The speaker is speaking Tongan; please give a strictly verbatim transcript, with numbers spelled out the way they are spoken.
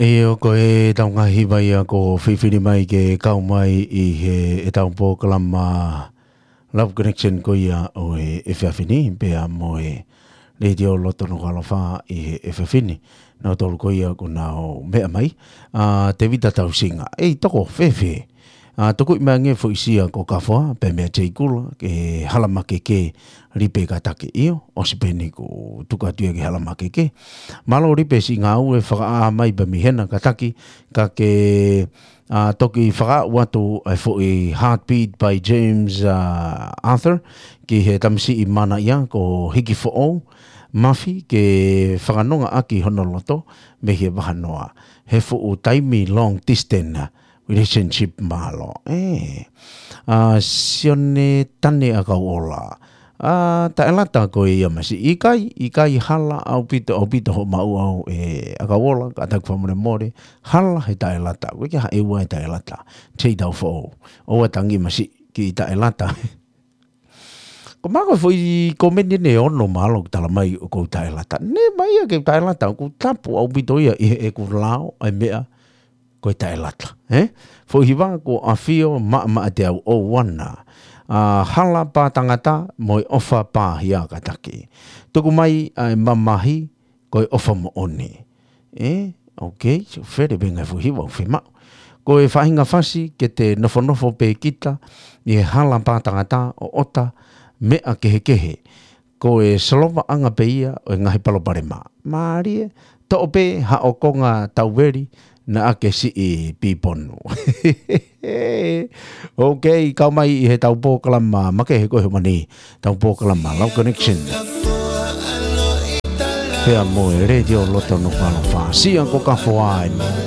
ʻIo, ko e tau ngaahi vai ia ko fifini mai ke kau mai ʻi he ʻetau polokalama Love Connection ko ia ʻo e efiafi ni, pea mo e Letiō Loto Nukuʻalofa ʻi he efiafi ni. Nautolu ko ia kuo nau meʻa mai. ʻA, Tevita Tausinga. ʻEi, toko, fēfē. ʻA, tuku mai ange foʻi sia ko Kafoa, pea meʻa Teikula, ke Hala Makeke, Lipe Kataki. ʻIo, ʻosi pē eni kuo tuku atu ia ki Hala Makeke. Mālō Lipe siʻi ngāue fakaʻā mai pē mei hena Kataki, ka ke, ʻa, toki fakaʻau atu ʻa e foʻi Heartbeat by James, ʻa, Arthur, ki he tamasiʻi mana ia ko Hiki Foʻou, Mafi ke fakanonga ʻaki hono loto mei he vahanoa. He fuʻu taimi long distance relationship mālō. ʻE. ʻA, Sione Tane ʻAkauʻola. ʻA, Taʻelata ko ia masiʻi. ʻIkai, ʻikai hala ʻaupito, ʻaupito hoʻo maʻu au ʻe ʻAkauʻola, ka taku fakamolemole. Hala he Taʻelata. Ko e ke haʻeua e Taʻelata. Tei tau foʻou. ʻOua tangi masiʻi ki Taʻelata. Ko māku foʻi komeni ʻe ono mālō ʻoku tala mai ʻoku ou Taʻelata. Never ia ke Taʻelata, ʻoku tapu ʻaupito ia ʻi heʻeku lao ʻa e meʻa ko e Taʻelata, ē? Foʻi hiva ko ʻAfio Maʻamaʻa Teau ʻOuana. ʻA, Hala Pātangata mo e ʻOfa Pāhia Kataki. Tuku mai ʻa e mamahi ko e ʻofa moʻoni. Ē, ok, so fere venga foʻi hiva ʻoku fiemaʻu. Ko e faʻahinga fasi ke te nofonofo pē kita ʻi he Hala Pātangata ʻo ʻota meʻa kehekehe. Ko e solovaʻanga pē ia ʻo e ngaahi palopalema. Mālie, toʻo pē haʻo konga tauveli naʻa ke siʻi piponu. Ok, kau mai ʻi he tau polokalama makehe ko e homa ni, tau polokalama Love Connection. Pea mo e Letiō Loto Nukuʻalofa. Sia ko Kafoa eni.